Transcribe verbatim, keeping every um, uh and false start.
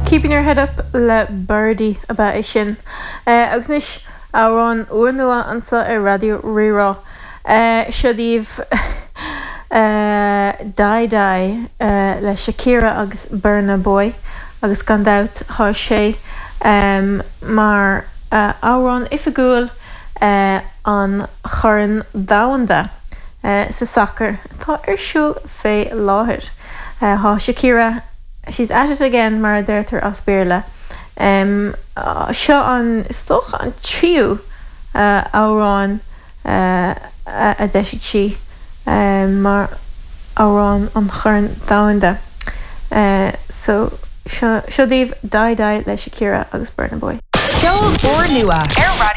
Keeping your head up le Birdy ab ea é sin. Uh, agus anois amhrán úrnua anseo ar Raidió Rí-Rá. Uh, seo daoibh uh, Die Die uh, le Shakira agus Burna Boy agus gan dabht tá sé um, mar uh, amhrán oifigiúil uh, an Chorn Domhanda uh, sa sacar atá ar siúl fé láthair. Uh, Tá Shakira she's at it again mar a deirtear as Béarla. Um, uh, seo an stoch an tríú uh, amhrán uh, a d'eisigh sí um, mar amhrán an Chorn Domhanda. Uh, so seo daoibh Die Die le Shakira agus Burna Boy. Ceol úrnua ar